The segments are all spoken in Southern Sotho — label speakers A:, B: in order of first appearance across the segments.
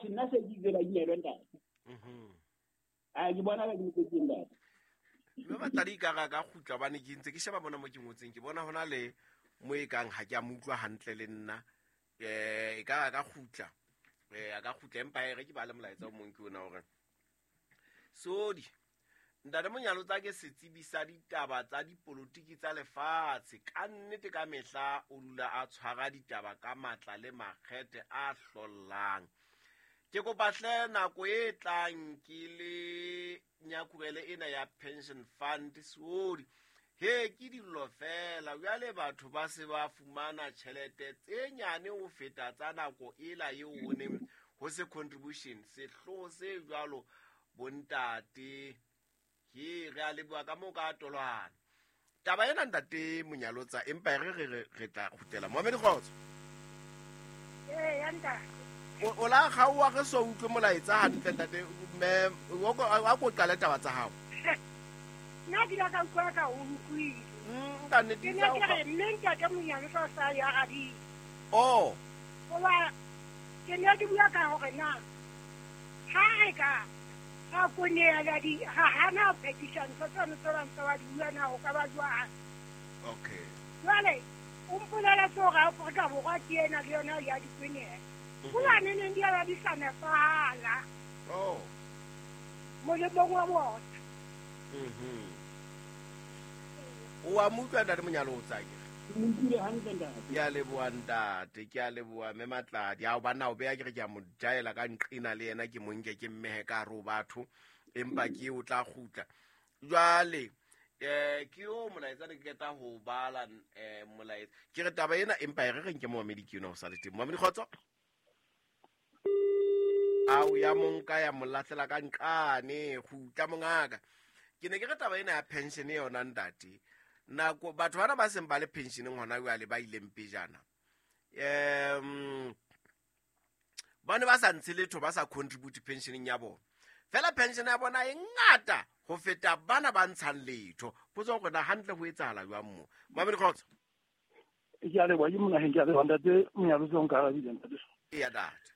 A: Atjhe, nna se ke itse ba inelwe ntate. A ke bona ba ke mokotsing ntate.
B: Mme batladi ka ga ka kgutla bane ke ntse ke sheba bona mo ke ngotseng, ke bona hona le mo e kang ha ke a mo utlwa hantle le nna. E ka ka kgutla. A ka kgutla empa e re ke ba le molaetsa o mong ke ona hore Sodi ntate Monyalotsa ke setsebi sa ditaba tsa dipolotiki tsa lefatshe. Ka nnete ka mehla o dula a tshwara ditaba ka matla le makgethe a hlollang. Ke kopa hle nako e tlang ke le nyakurele ena ya pension fund Sodi. He ke dillo fela jwale batho ba se ba fumana tjhelete tse nyane ho feta tsa nako ela eo ho neng ho se contribution. Sehloho se jwalo bontate. He re a leboha ka moo ka tolwana. Taba ena ntate Monyalotsa empa re re re tla kgutlela. Mohamedi Kgotso.
C: Ee, ya ntate.
B: O la kgaoha re so utlwe molaetsa hantle ntate mme a ko qale taba tsa hao.
C: Nna ke ile ka utlwa ka o utlwile.
B: Ka nnete
C: Ke ne ke re mme ntate Monyalotsa o sa ya arabile.
B: Oh.
C: Hoba ke ne ke bua ka hore na ha re ka ga koneela di ga hana ho phethisa ntho tseno tse bang tse ba di bua na ho ka ba jwang.
B: Okay.
C: Jwale o mpoleletse hore Afrika Borwa ke ena le yona ya dikwenela. Hobane neng di a ba di sa nepahala.
B: Oh.
C: Molemong wa bona.
B: O a mo utlwa ntate Monyalotsa ke?
A: Mo utlwile hantle ntate.
B: Ke a leboha ntate, ke a leboha mme Matladi. Ao banna o beya ke re ke a mo jaela ka nqena le yena ke mo nke ke mmehe ka hare ho batho, empa ke o tla kgutla. Jwale ke yo molaetsa ne ke qeta ho bala molaetsa. Ke re taba ena empa e re reng ke Mohamedi ke yona ho sa le teng. Mohamedi Kgotso. Ao ya monka ya mo lahlela ka nqane, kgutla mongaka. Ke ne ke re taba ena ya pension yona ntate. Nako batho bana ba seng ba le pensioneng hona jwale ba ileng pejana. Ba ne ba sa ntshe letho, ba sa contribute pensioneng ya bona. Fela pension ya bona e ngata ho feta bana ba ntshang letho. Potso hore na hantle ho etsahala jwang mo. Mamedi Kgotso.
D: Ke a leboha, ke monaheng, ke a leboha ntate Monyalotsa o nkarabile ntate.
B: Eya ntate.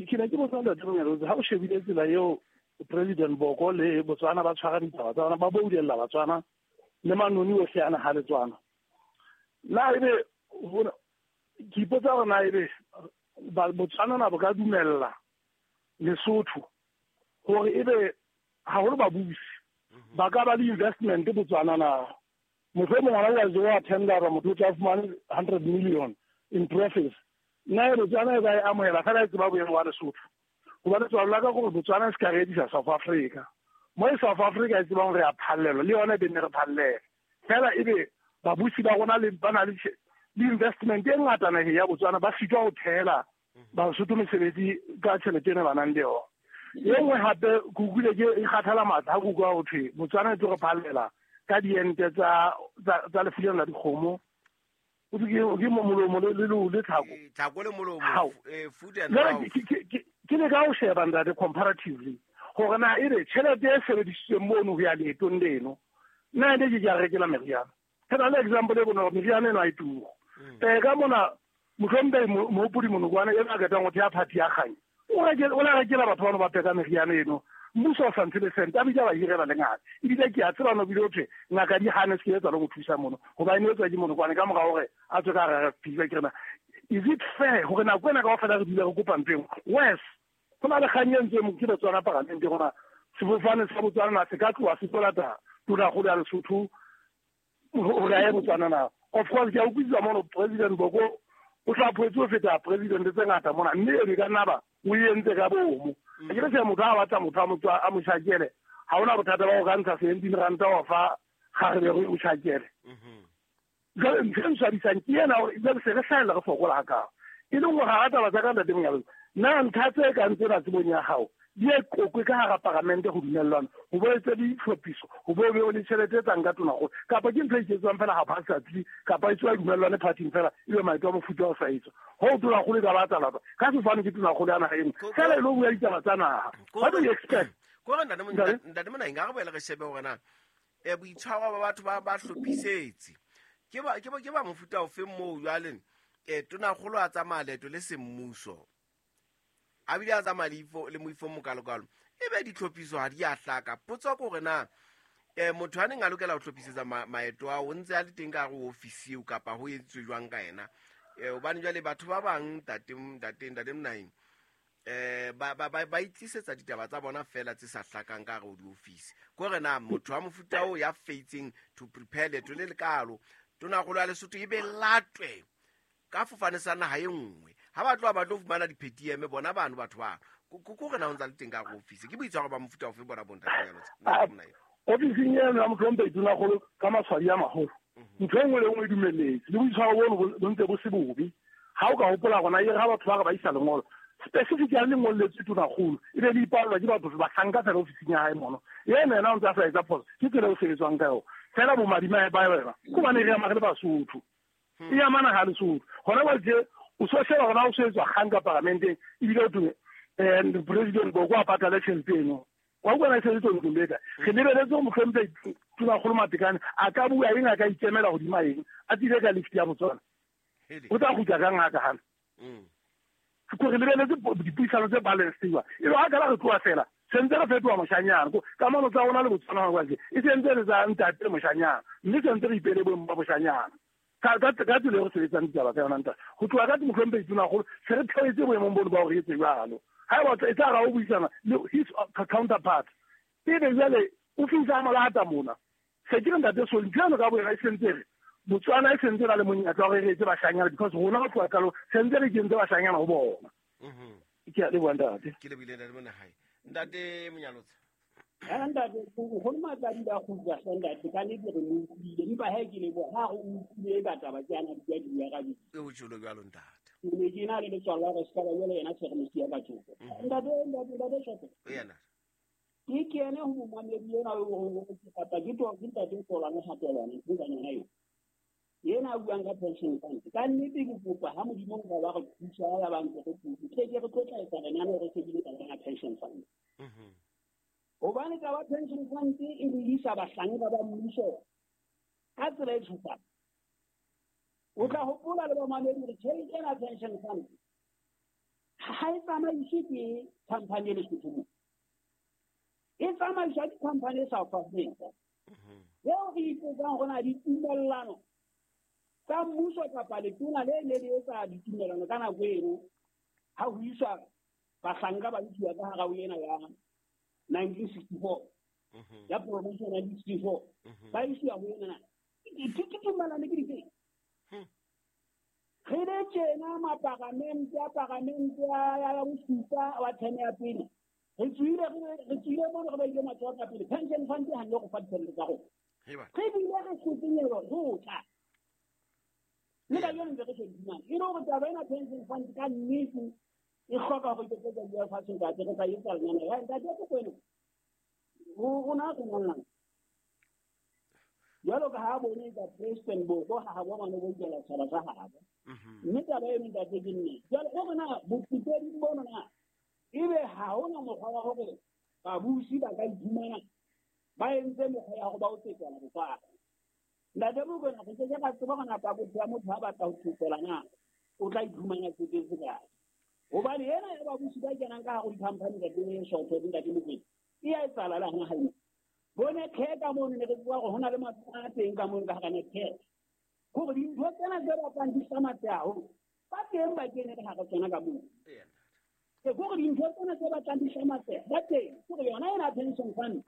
D: Ke ne ke botsa ntate Monyalotsa, ha o shebile tsela eo President Boko le Botswana ba tshwara ditaba tsa bona, ba boulella Batswana le manoni ohle ana ha Letswana. Na ebe ke ipotsa hore na ebe Botswana na bo ka dumella Lesotho hore ebe haholo babusi ba ka ba le investment Botswana na? Mohlomong hona jwale wa tendera motho o tla fumane 100 million in profits. Nna e Botswana e ba e amohela fela e tseba boemo ba Lesotho. Hobane tswalo la ka gore Botswana se ka re edisa South Africa. Mo e South Africa e tsebang re a phallelwa, le yona e be nne re phallele. Fela ebe babusi ba rona le ba na le investment e ngata naheng ya Botswana ba sitwa ho thehela Basotho mesebetsi ka tjhelete ena ba nang le yona. E nngwe hape ke utlwile ke e kgathala matla ha ke utlwa ho thwe Botswana e tlo re phallela ka diente tsa lefu lena la dikgomo. O thwe ke molomo le tlhako.
B: Tlhako le molomo,
D: Hao.
B: food and
D: Jwale
B: mouth.
D: ke ne ka ho sheba ntate comparatively hore na ebe tjhelete e sebedisitsweng mono ho ya leetong leno, nna ene ke a rekela meriana. Ke na le example e bonolo, meriana eno ha e turu. Ka mona mohlomphei Mohopodi Monokwane e ba qetang ho theha party ya Kganya, o la rekela batho bano ba pheka meriana eno. Mmuso o sa ntshe le sente, a bitsa ba hirela le ngaka. Ebile ke a tseba no bile ho thwe ngaka di hane se ke etsa le go thusa mono, hobane e etswa ke Monokwane ka mora hore a tswe ka hara RFP. Jwale ke re na, is it fair hore nako ena kaofela re dule re kopa ntho e nngwe? Worse, ho na le kgang e ntseng ke Botswana paramente rona, sefofane sa Botswana na se ka tloha se tlo lata tonakgolo ya Lesotho hore a ye Botswana na? Of course, ke a utlwisisa mono President Boko o hlaphohetswe ho feta president tse ngata mona, mme eno e ka nna ba o e entse ka bomo. Ke re se motho ha batla motho a mo tjhakele, ha hona bothata ba ho ka ntsha 17 ranta wa fa kgarebe hore o tjhakele. Jwale ntho e nswabisang ke ena hore jwale se re hlahella re fokola hakao. E leng hore hara taba tsa ka ntate Monyalotsa, na ntlha tse kang tsena tsebong ya hao di e qoqwe ka hara paramente ho dumellwana, ho bo etse ditlhophiso, ho bo be le tjhelete e tswang ka tonakgolo, kapa ke ntho e iketswang fela haphazardly, kapa e tswa dumellwane party-ing fela, ebe maeto a mofuta o sa etswa. Ho tonakgolo e ka ba tsa lapa, ka sefane ke tonakgolo ya naha eno, fela e lo bua ditaba tsa naha. What do you expect?
B: Ko re ntate Monaheng, a re boele re shebe hore na boitshwaro ba batho ba hlophisetse. Ke ba mofuta ofe moo jwale tonakgolo a tsamaya leeto le semmuso? A bile a tsamaya le moifo mokalokalo. Ebe ditlhophiso ha di a hlaka. Potso ke hore na motho a neng a lokela ho hlophisetsa maeto ao o ntse a le teng ka hare ho ofisi eo kapa ho entswe jwang ka yena. Hobane jwale batho ba bang ntate Monaheng ba itlisetsa ditaba tsa bona fela tse sa hlakang ka hare ho diofisi. Ke hore na motho wa mofuta oo ya feitseng to prepare leeto le lekalo, tonakgolo ya Lesotho e be latwe ka fofane sa naha e nngwe. Ha ba tloha ba tlo fumana di-PTM bona bano batho bano. Ke hore na o ntse a le teng ka hare ho ofisi. Ke boitshwaro ba mofuta ofe bona bo ntate Monyalotsa?
D: Ofising eno ya mohlomphehi Tonakgolo ka matshwadi a maholo, ntho e nngwe le nngwe e dumelletse. Le boitshwaro bono bo ntse bo se bobe. Ha o ka hopola rona e re ha batho ba re ba isa lengolo, specifically lengolo letswe Tonakgolo, e be le ipallwa ke batho bahlanka fela ofising ya hae mono. Ena yena o ntse a sa etsa phoso, ke tsela eo sebetswang ka yona. Fela bomadimabe ba yona ke hobane re ama re le Basotho. E amana ha Lesotho. Hona jwale tje o so sheba hore ha o so etswa kgang ka paramenteng, ebile ho thwe President Boko a patale tjhelete eno. Wa utlwa na e se le ntlong le kae? Re lebeletse hore mohlomphehi Tonakgolo Matekane a ka bua eng, a ka ikemela hodima eng, a tsile ka lift ya Botswana. O tla kgutla kang ha ka hana? Ke re lebeletse dipuisano tse balanced jwang. E be ha kala re tloha fela, sentse re fetoha moshanyana. Kamano tsa rona le Botswana hona jwale e sentse le tsa ntate le moshanyana, mme sentse re ipele boemo ba boshanyana. Ka tsela e re sebetsang ditaba ka yona ntate. Ho tloha ka mohlomphehi Tonakgolo se re theohetse boemong bono ba hore re etse jwalo. Ha eba e tla ra o buisana le his counterpart, ebe jwale o fihla molata mona. Se ke re ntate Soli, ntho eno ka boyona e sentse re Botswana e sentse na le monyetla wa hore re etse bashanyana, because rona ho tloha qalong sentse re kentse bashanyana ho bona. Ke a leboha ntate.
B: Ke lebohile ntate Monahai. Ntate Monyalotsa.
A: Ntate, nkgono Matladi ba kgutla hle ntate, ka nnete re mo utlwile. Empa he ke leboha ha re utlwile ka taba ke ana di bua ka di.
B: E ho tjholo jwalo ntate.
A: Ke ne ke na le letswalo la hore se ka ba jwale yena se re mo siya ka thoko. Ntate Shope.
B: Yena.
A: Ke kene ho momamedi ena o reng o ke kapa ke to ke ntate Tolwane ha Tolwane, ke ka yona eo. Yena a buang ka pension fund. Ka nnete ke kopa ha Modimo nka ba re thusa ya ba ntse re thusa. Ke ke re tlo tla etsa lenaneo re shebile taba ya pension fund. Hobane taba pension fund e re isa bahlanka ba mmuso ka tsela e tshosang. O tla hopola le bamamedi hore tjhelete ena pension fund ha e tsamaiswe ke company e Lesotho mo. E tsamaiswa ke company e South Africa. Eo re ipotsang hore na ditumellano tsa mmuso kapa letona le ne le etsa ditumellano ka nako eno ha ho iswa bahlanka ba isiwa ka hara ho ena ya 1964 ya promotion ya 1964 ba isiwa ho ena na ke tumellano ke dife? Re le tjena maparamente a paramente ya bosupa wa term ya pele. Re tswile mono re ba ile matsoho ka pele. Pension fund ha nne go fa ditjhelete tsa rona. Re bile re hlotsenyelwa ho tla. Le ka yona ntse re shebile. E le hore taba ena pension fund ka nnete e hloka hore ke tlo bua fatshe ntate, re tla etsa lenaneo. Ya ntate ke kwena. Rona re ngollang. Jwalo ka ha bone ka President Boko ha ha bona bo ikela tshaba tsa habo. Mme taba eno ntate ke nnete. Jwale o rena botsetedi bono na ebe ha hona mokgwa wa hore babusi ba ka iphumana ba entse mekgwa ya hore ba o tsetela botswana. Ntate Mokoena, re ke ke ra tseba hore na pakotho ya motho ha batla ho tsetela na o tla iphumana tsetetse kae. Hobane ena ya babusi ba kenang ka hare ho di-company ntate Shotho, ntate Mokoena, e a etsahala le hona hae. Bone care ka mono ne re tseba hore ho na le matlo a teng ka mono ka hara Netcare. Hore dintho tsena tse batlang di hlamatse haholo, ba teng ba kene ka hara tsona ka mono. Ke hore dintho tsena tse batlang di hlamatse, ba teng. Ke hore yona ena pension fund,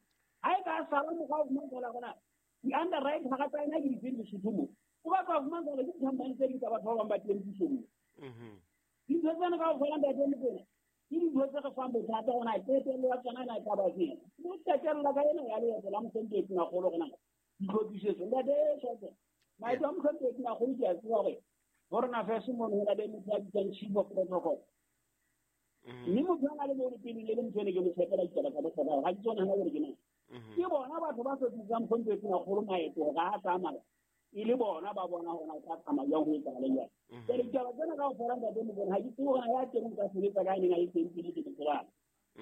A: ha e ka sala mokgwa wa ho fumana hore na di-underwrite hara tsa yona ke difeng Lesotho mo. O batla ho fumana hore ke di-company tse ding tsa batho ba bang ba teng pusong mo. Dintho tsena kaofela ntate Mokoena, ke dintho tse re fang bothata hore na qetello ya tsona na e tla ba feng. Bo qetella ka ena ya leeto la mohlomphehi Tonakgolo hore na ditlhophisetso. Ntate Shope, maeto a mohlomphehi Tonakgolo ke a tseba hore Foreign Affairs mono ho na le motho ya bitswang Chief of Protocol. Mme motho a na le mono pele le motho ene ke mo tshepela ditaba tsa bohlokwa, ha ke tsona hona jwale ke mang. Ke bona batho ba hlophisang mohlomphehi Tonakgolo maeto hore ha a tsamaya, e le bona ba bona hore na o tla tsamaya jwang ho etsahala jwang. Jwale ditaba tsena kaofela ntate Mokoena, ha ke tsebe hore na ya teng o ka sebetsa ka neng a le teng pele ke mo tsebang.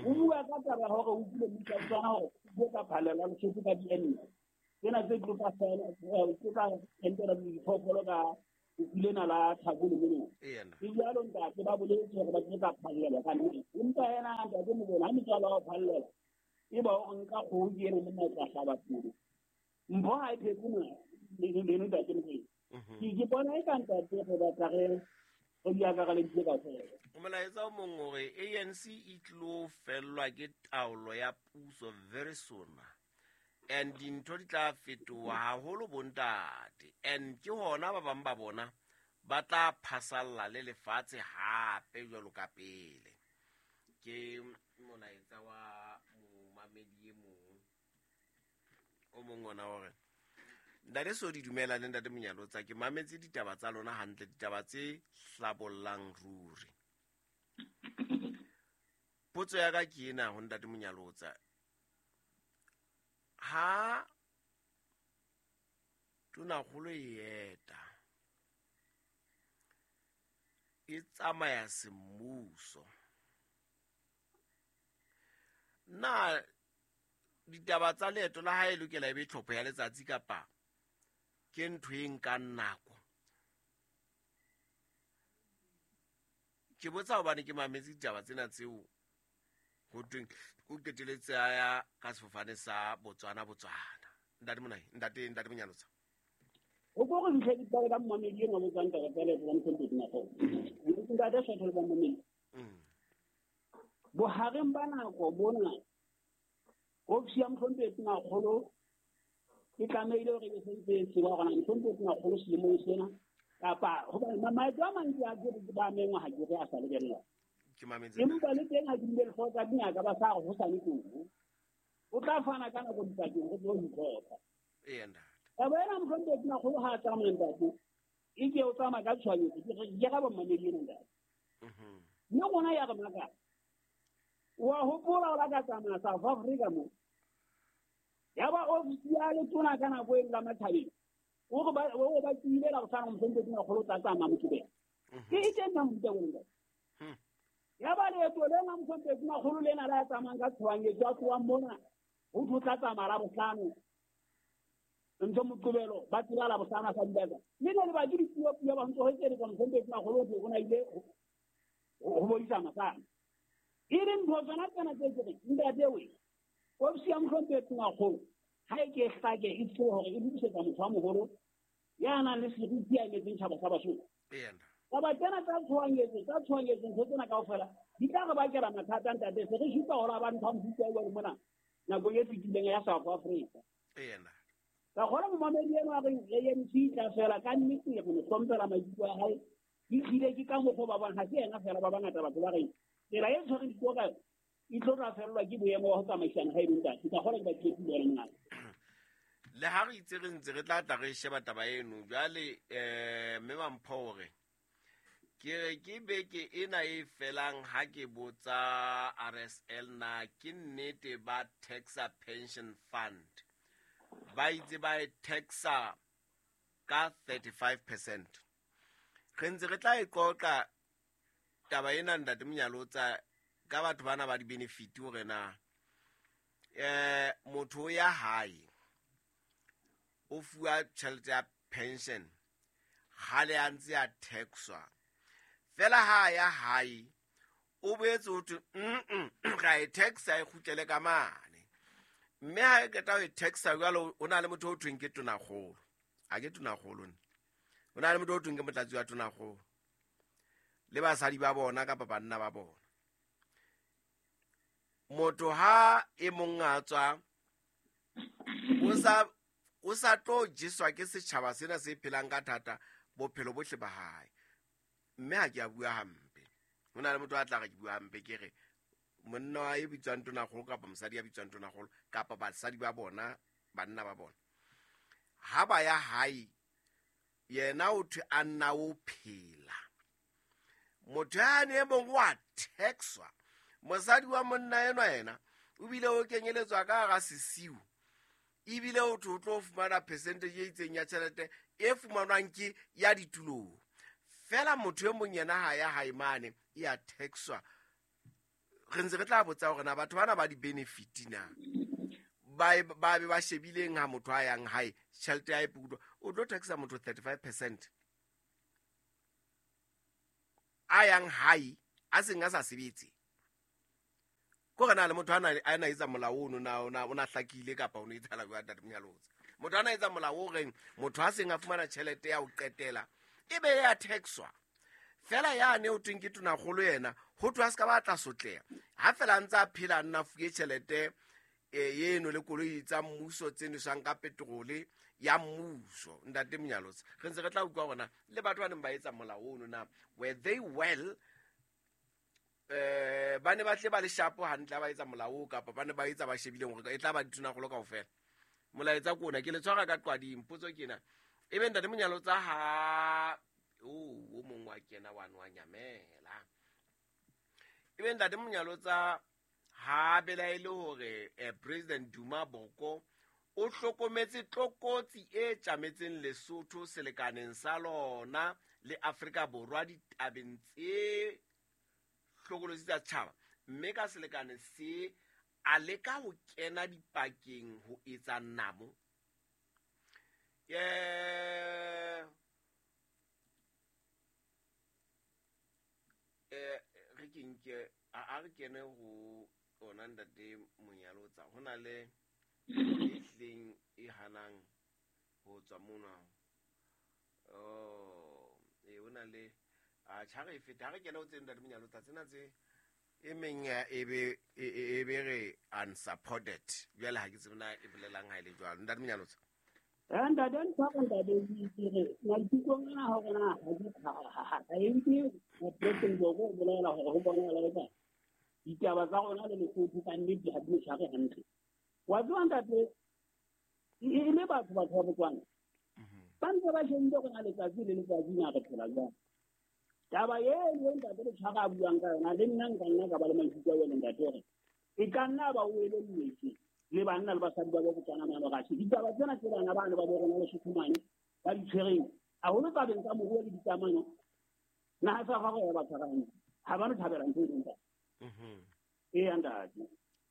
A: O bua ka taba ya hore o utlwile mmuso wa Botswana hore o tlo ka phallelwa Lesotho ka di-ente. Tsena tse tlo ka tse tla entela diphoofolo ka Lena la Tlhakole mono. Ke jalo ntate ba boletse hore ba tlo ka phallela ka nnete. Empa yena ntate Mokoena ha metswalo wa phallela e ba o nka kgoho ke ena monna o tla hlaba polo. Mpho ha e phetse mona leno ntate Mokoena. Ke bona e ka ntate re batla re di akareleditse kaofela.
B: Molaetsa o mong o re ANC e tlilo fellwa ke taolo ya puso very soon. And dintho di tla fetoha haholo bontate. And ke hona ba bang ba bona ba tla phasalla le lefatshe hape jwalo ka pele. Ke molaetsa wa momamedi e mong o mong ona hore ntate Sodi dumela le ntate Monyalotsa, ke mametse ditaba tsa lona hantle, ditaba tse hlabollang ruri. Potso ya ka ke ena ho ntate Monyalotsa, ha tonakgolo e eta e tsamaya semmuso, na ditaba tsa leeto la hae e lokela e be tlhopho ya letsatsi kapa ke ntho e nkang nako? Ke botsa hobane ke mametse ditaba tsena tseo ho tweng o qeteletse a ya ka sefofane sa Botswana Botswana. Ntate Monai, ntate Monyalotsa.
A: O ko re ntlhe ditaba ka mmamedi enwa botsang taba tsa leeto la Mohlomphedi Nakgolo. Ntate Sotho le bamamedi. Bohareng ba nako bona ofisi ya Mohlomphedi Nakgolo e tlamehile hore e sentse e tseba hore na Mohlomphedi Nakgolo selemong sena kapa hobane maeto a mantsi a ke ba mengwa ha ke re a sa lebella. Empa le teng ha ke bile lehloko tsa dingaka ba sa re ho sane teng. O tla fana ka nako dipakeng go tlo itlhopha. Taba ena Mohlomphedi Nakgolo ha a tsamaya ntate, e ke o tsamaya ka tshohanyetso, ke ga bommamedi ena ntate. Mme rona ya re makala. Wa hopola o la ka tsamaya South Africa mo. Ya ba ofisi ya letona ka nako e la Mathabeng. O re ba tsile la bohlano Mohlomphedi Nakgolo o tla tsamaya Mokibelo. Ke e teng na mofuta o ntate. Ya ba leeto lena Mohlomphedi Nakgolo lena la tsamayang ka tshohanyetso a tlohang mona ho tlo tla tsamaya la bohlano. Ntho Moqebelo ba tseba la bohlano a sa dibaka. Mme le ba ke dipuo puo ba ntse ho etsa Mohlomphedi Nakgolo o na ile ho bodisa masana. E le ntho tsona tsena tse ke reng ntate we ofisi ya Mohlomphedi Nakgolo ha e ke hlake e tsebe hore e lokisetsa motho wa moholo ya nang le seriti ya emetseng tjhaba sa Basotho. Taba tsena tsa tshohanyetso ntho tsena kaofela di tla re bakela mathata ntate. Se re supa hore ba ntho mofuta o jwalo mona nakong e fetileng ya South Africa. Ka kgona momamedi enwa a reng ANC e tla fela ka nnete re mo hlomphela maikutlo a hae. Ke tlile ke ka mokgwa ba bang ha se yena fela ba bangata batho ba reng tsela e tshwereng dithuo ka yona e tlo tla fellwa ke boemo ba ho tsamaisana ha e le ntate. Ka kgona ke ba tlile le ngaka.
B: Le ha re itse re ntse re tla tla re sheba taba eno jwale mme Mampho hore ke re ke beke ena e felang ha ke botsa RSL na ke nnete ba taxa pension fund ba itse ba e taxa ka 35%. Re ntse re tla e qoqa taba ena ntate Monyalotsa ka batho bana ba di-benefit hore na motho ya hae o fuwa tjhelete ya pension kgale a ntse a taxwa fela ha ya hae o boetse ho thwe ra e taxa e kgutlele ka mane mme ha e qeta ho e taxa jwalo o na le motho o thweng ke tonakgolo ha ke tonakgolo nna o na le motho o thweng ke motlatsi wa tonakgolo le basadi ba bona kapa banna ba bona. Motho ha e mong a tswa o sa tlo jeswa ke setjhaba sena se phelang ka thata bophelo bohle ba hae. Mme ha ke a bua hampe. Ho na le motho a tla re ke bua hampe ke re monna wa e bitswang tonakgolo kapa mosadi ya bitswang tonakgolo kapa basadi ba bona banna ba bona ha ba ya hae yena o thwe a nna o phela. Motho yane e mong wa taxwa. Mosadi wa monna enwa yena o bile o kenyeletswa ka hara sesiu ebile o tlo tlo fumana percentage e itseng ya tjhelete e fumanwang ke ya ditulong. Fela motho e mong yena ha ya hae mane e a taxwa. Re ntse re tla botsa hore na batho bana ba di-benefit na ba be ba shebileng ha motho a yang hae tjhelete ya e pudwa o tlo taxa motho 35%. a yang hae a seng a sa sebetse. Ko re na le motho a na etsa molao ono na o na hlakile kapa o no etsahala jwang ntate Monyalotsa? Motho a na etsa molao o reng motho a seng a fumana tjhelete ya ho qetela e be ya taxwa. Fela yane o tweng ke tonakgolo yena ho thwe a se ka ba tla sotleha. Ha fela a ntse a phela a nna fuwe tjhelete eno le koloi tsa mmuso tse nweswang ka petrole ya mmuso. Ntate Monyalotsa, re ntse re tla utlwa hore na le batho ba neng ba etsa molao ono na were they well, ba ne ba tle ba le shapo hantle ha ba etsa molao oo, kapa ba ne ba etsa ba shebileng hore e tla ba ditonakgolo kaofela. Molaetsa ke ona, ke le tshwara ka qwading. Potso ke ena, ebe ntate Monyalotsa ha o mong wa kena wa nwa nyamela. Ebe ntate Monyalotsa ha belaele hore President Duma Boko o hlokometse tlokotsi e tjametseng Lesotho selekaneng sa lona le Afrika Borwa ditabeng tse hlokolosi tsa setjhaba, mme ka selekane se a leka ho kena dipakeng ho etsa namo. Re ke nke a re kene ho ona ntate Monyalotsa, ho na le e hleng e hanang ho tswa mona. Oh, ho na le a tjha re feta, ha re kene ho tse ntate Monyalotsa tsena tse e meng e be re unsupported. Jwale ha ke tsebe na e bolelang ha e le jwalo. Ntate Monyalotsa.
A: Ntate ntate ke re maikutlong ana hore na ha e nke President Boko o bolela hore ho bonahala eka ditaba tsa rona le Lesotho ka nnete ha di re tshware hantle. Wa tseba ntate, e le batho ba Botswana ba ntse ba shebile hore na letsatsi le letsatsi na re phela jwang. Taba eno ntate le tshwara a buang ka yona, le nna nka nna ka ba le maikutlo a jwalo ntate, hore e ka nna ba o elelletswe le banna le basadi ba Botswana mane Russia. Ditaba tsena tse bana bana ba bo rona Lesotho mane ba di tshwereng haholo tabeng tsa moruo le dikamano, naha sa gagwe ya ba tshwara hantle, ha ba no thabela ntho e leng ntate. Eya ntate.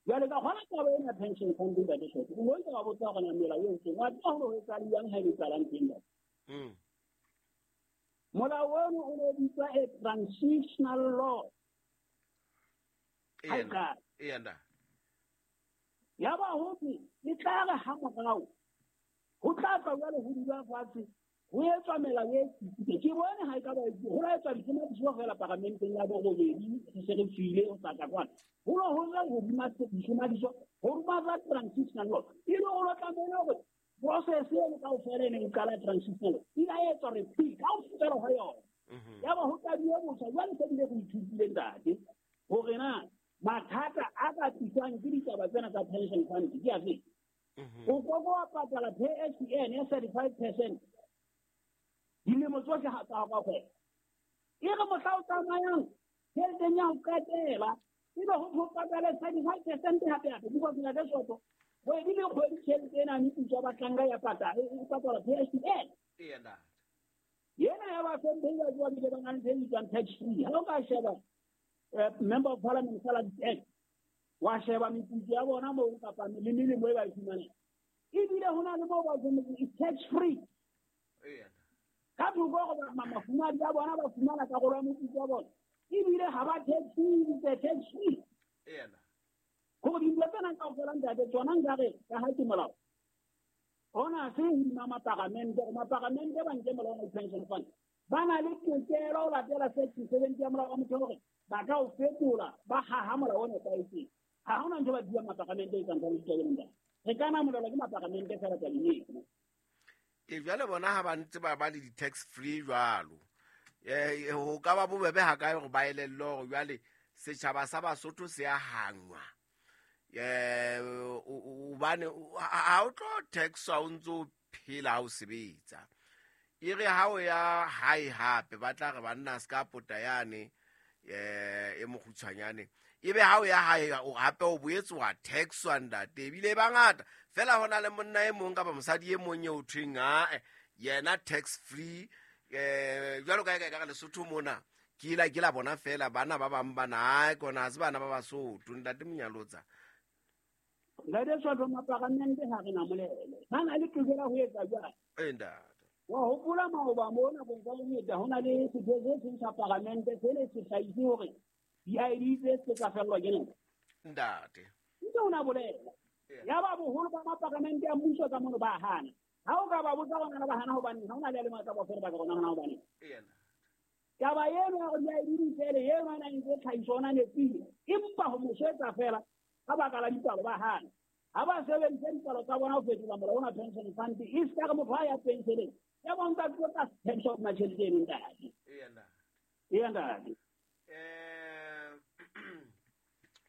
A: Jwale ka kgona taba ena pension fund ntate Shoko, o ntse wa botsa hore na melao e entseng, wa tseba hore ho etsahala jwang ha e etsahala ntho e ntate. Molao ono o ne bitswa a transitional law.
B: Eya ntate.
A: Ya ba ho thwe e tla re ha morao ho tla tla jwale ho dula fatshe ho etswa melao e tsitsitseng. Ke bone ha e ka ba ho la etswa ditlhomamiso fela paramenteng ya borobedi re se re tswile ho tla kwana. Ho lo ho tla hodima ditlhomamiso ho ruma tsa transitional law. E le ho tlamehile hore process eno kaofela e neng e qala transitional law e la etswa repeal kaofela ha yona. Ya ba ho qadile botjha jwale se bile re ithutile ntate hore na mathata a ka tliswang ke ditaba tsena tsa pension fund ke afe. O koko wa patala PSN ya 35% dilemo tsohle ha tsa ka kgwebo. E re mohla o tsamayang tjheleteng ya ho qetela ebe ho patale 35% hape hape, because ntate Soto kgwedi le kgwedi tjhelete ena meputso ya bahlanka ya patala e patala PSN. Yena ya ba hlomphehi ba tswa bile ba na le tse bitswang tax free. Ha o ka sheba Member of Parliament Salaries Act, wa sheba meputso ya bona moo kapa le melemo e ba e fumanang, ebile ho na le moo ba is tax free. Ka thoko hore mafumadi a bona ba fumana karolo ya moputso wa bona, ebile ha ba tax free, tax free. Hore dintho tsena kaofela ntate tsona nkare ka ha ke molao ona se hodima maparamente, hore maparamente ba nke molao wa pension fund ba na le tokelo ho latela section 70 ya molao wa motheo hore ba ka o fetola ba haha molao o nepahetseng. Ha hona ntho ba buang maparamente e tsang ka ditabeng ntate. Re ka namolelwa ke maparamente fela tabeng eno.
B: E jwale bona ha ba ntse ba ba le di-tax free jwalo, ho ka ba bobebe ha kae hore ba elellwe hore jwale setjhaba sa Basotho se a hangwa. Hobane ha o tlo taxwa o ntso phela ha o sebetsa. E re ha o ya hae hape ba tla re banna se ka pota yane e mokgutshwanyane, ebe ha o ya hae hape o boetse wa taxwa ntate, ebile ba ngata fela hona le monna e mong kapa mosadi e mong eo thweng ae yena tax free. Jwalo ka ka ka Lesotho mona ke ila ke la bona fela bana ba bang bana ae kona ha se bana ba Basotho. Ntate Monyalotsa,
A: Ntate Soto, maparamente ha re namolele ba na le tokelo ho etsa jwang?
B: Ntate.
A: Wa hopola maoba mo nakong tsa ho feta ho na le setho se seng sa paramente se ne se hlahise hore di-ID tse se tsa fellwa ke nako.
B: Ntate.
A: Ntse o na bolela. Ya ba boholo ba maparamente a mmuso ka mono ba hana. Ha o ka ba botsa rona ba hana hobane ha ona le le matla ba fela ba ka rona hana hobane. Taba eno ya hore di-ID di fele eno a nang le tlhahiso ona nepile. Empa ho mo swetsa fela ka baka la dipalo ba hana. Ha ba sebedisa dipalo tsa bona ho fetola molao ona pension fund e se ka re motho ha ya pensioneng ya bonka tlo ka pension ma tjhelete eno ntate. Eya ntate.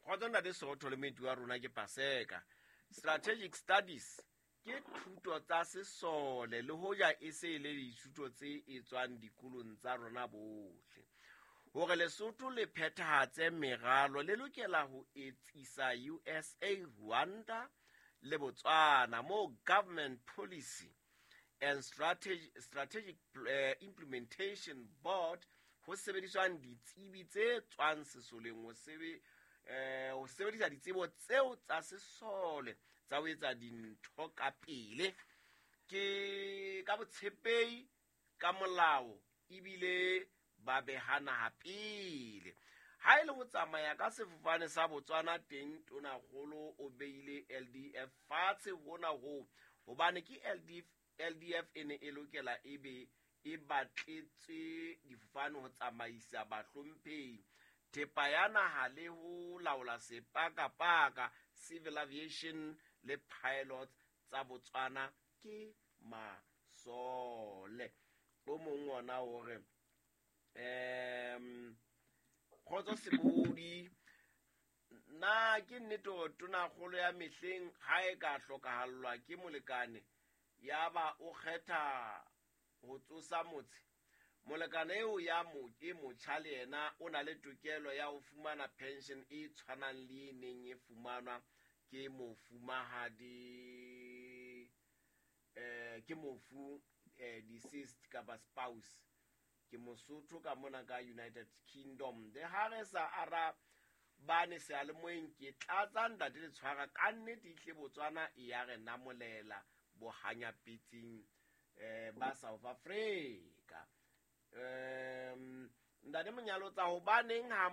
B: Kgotso ntate Sootho le moeti wa rona ke Paseka. Strategic studies ke thuto tsa sesole le hoja e se e le dithuto tse etswang dikolong tsa rona bohle. Hore Lesotho le phethahatse meralo le lokela ho etsisa USA, Rwanda le Botswana moo government policy and strategic implementation board ho sebediswang ditsebi tse tswang sesoleng ho sebedisa ditsebo tseo tsa sesole tsa ho etsa dintho ka pele ke ka botshepehi ka molao ebile ba beha naha pele. Ha e le ho tsamaya ka sefofane sa Botswana teng tonakgolo o beile LDF fatshe hona ho hobane ke LDF e ne e lokela e be e batletse difofane ho tsamaisa bahlomphehi thepa ya naha le ho laola sepakapaka civil aviation le pilots tsa Botswana ke masole. O mong ona o re kgotso Sebodi, na ke nnete hore tonakgolo ya mehleng ha e ka hlokahallwa ke molekane ya ba o kgetha ho tsosa motse? Molekane eo ya e motjha le yena o na le tokelo ya ho fumana pension e tshwanang le e neng e fumanwa ke mofumahadi ke mofu deceased kapa spouse. Ke Mosotho ka mona ka United Kingdom. Le ha re sa arabane seyalemoyeng ke tlatsa ntate le tshwara ka nnete ihle Botswana e ya re namolela bohanyapetsing ba South Africa. Ntate Monyalotsa, hobaneng ha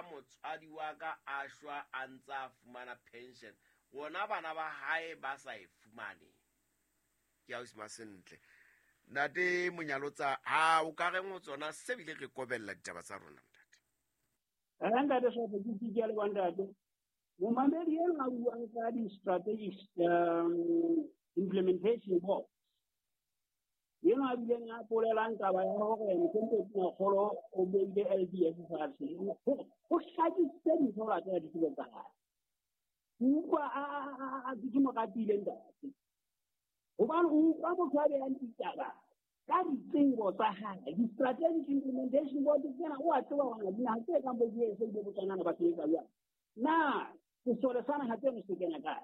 B: motswadi wa ka a shwa a ntsa fumana pension, rona bana ba hae ba sa e fumane? Ke ausi Masentle. Ntate Monyalotsa, ha o ka reng ho tsona se bile re kobella ditaba tsa rona ntate?
A: Ntate Sopo, ke ke le ntate. Momamedi eno a buang ka di-strategic implementation board. Eno a bileng a polelang taba ya hore mohlomphehI Tonakgolo o beile LDF fatshe. Ho hlakisitse dintho ho latela ditsebo tsa hae. Utlwa a ke mo ratile ntate. Hobane o utlwa motho a behang ditaba ka ditsebo tsa hae. Di-strategic implementation board tsena o a tseba hore dinaha tse kang bo USA le Botswana ba sebetsa jwang. Na sesole sa naha tseno se kena kae?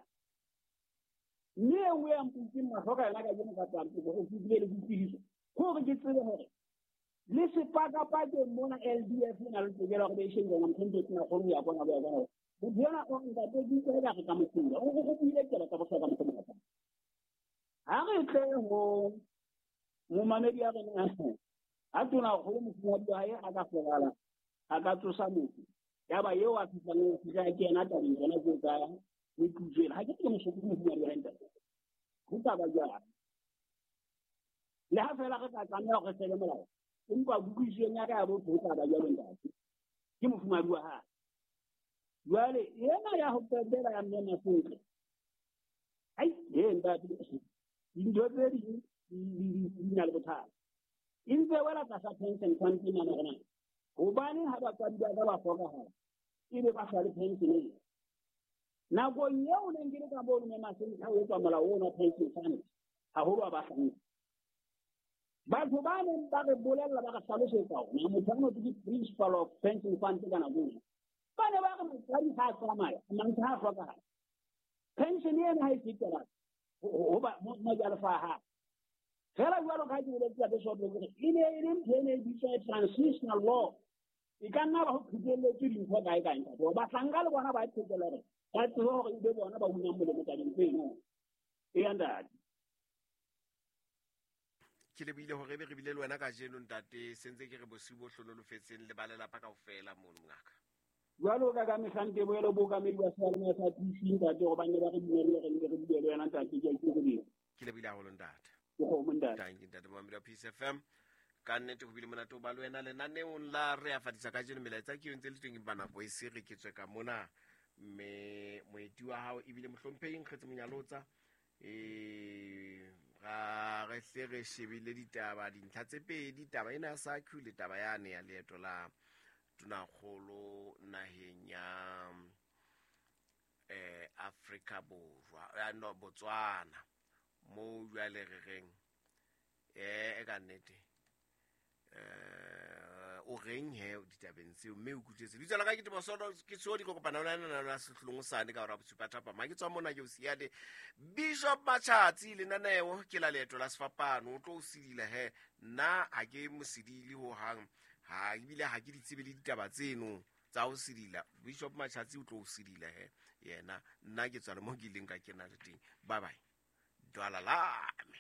A: Mme e nngwe ya mputseng mahlo ka yona kajeno ka tsampe hore ke bile le boitsebiso, ke hore ke tsebe hore le sepakapakeng mona LDF e na le tokelo ya hore be e shebile hore mohlomphehI Tonakgolo o ya kwana, o ya kwana. Motho enwa o ntate ke utlwa eka re ka mo fula. O buile taba tsa bohlokwa mohlomong. Ha re tle ho momamedi ya rona ha tonakgolo mofumahadi wa hae a ka hlokahala, a ka tsosa motho ya ba eo a fihlang ho fihla ke yena tabeng tsona tseo tsa meputso ena. Ha ke ke mosoko mofumahadi wa hae ntate. Ho ka ba jwang? Le ha feela re ka tlameha hore re sele molao, empa kutlwisisong ya ka ya botho ho tla ba jwalo ntate. Ke mofumahadi wa hae. Jwale ena ya ho qetela ya mme Masentle, ai ntate, dintho tse ding di na le bothata. E ntse wela tlasa pension fund ena hore na hobaneng ha batswadi ba ka ba hlokahala ebe ba sa le pension ena. Nakong eo neng ke le ka mono mme Masentle ha o etswa molao ona pension fund, haholo wa bahlanka. Batho ba neng ba re bolella ba re hlalosetsa hore na motho a ke principal of pension fund ka nako ena. Ba ne ba re motswadi ha a tsamaya, mantswe ha a hlokahala. Pension ena ha e fetela ho ba mojalefa a hae. Fela jwalo ka ha ke boletse ka Sopo hore e ne e le ntho e ne e bitswa transitional law. E ka nna ba ho qhekelletswe dintho kae kae ntate. Bahlanka le bona ba qhekella hore ba tsebe hore ebe bona ba unang molemo tabeng tseno. Eya ntate.
B: Ke lebohile hore ebe re bile le wena kajeno, ntate. Sentse ke re bosiu bo hlonolofetseng le ba lelapa kaofela mono, mongaka.
A: Jwalo ka mehlante boelo bookamedi ba seyalemoya sa PC, ntate, gobane ba re dumelle re nne re bue le wena, ntate. Ke a ikokobetsa.
B: Ke lebohile haholo, ntate.
A: Ke kgomo, ntate.
B: Tanki, ntate momamedi wa Peace FM. Ka nnete ho bile monate ho ba le wena lenaneong la Re a Fadisa kajeno. Melaetsa ke yo ntse le teng, empa nako e se re ke tswe ka mona. Mme moeti wa hao ebile mohlomphehi Nkgetse Monyalotsa. Ra re hle re shebile ditaba, dintlha tse pedi, taba ena ya SACU le taba yane ya leeto la tonakgolo naheng ya Afrika Borwa, no, Botswana, moo jwale re reng e ka nnete o reng he ditabeng tseo, mme o kutlwetse lebitso la ka ke Tebosono ke tsoho di kopana le wena la sehlolong sane ka hora bosupa thapama. Ke tswa mona ke o siya le Bishop Machatsi. Lenaneo ke la Leeto la Sefapano. O tlo o sedila he, nna ha ke mosedile ho hang, ha ebile ha ke di tsebe le ditaba tseno tsa ho sedila. Bishop Machatsi o tlo o sedila he yena, nna ke tswa le mo ke ileng ka kena le teng. Bye bye, dwala lame.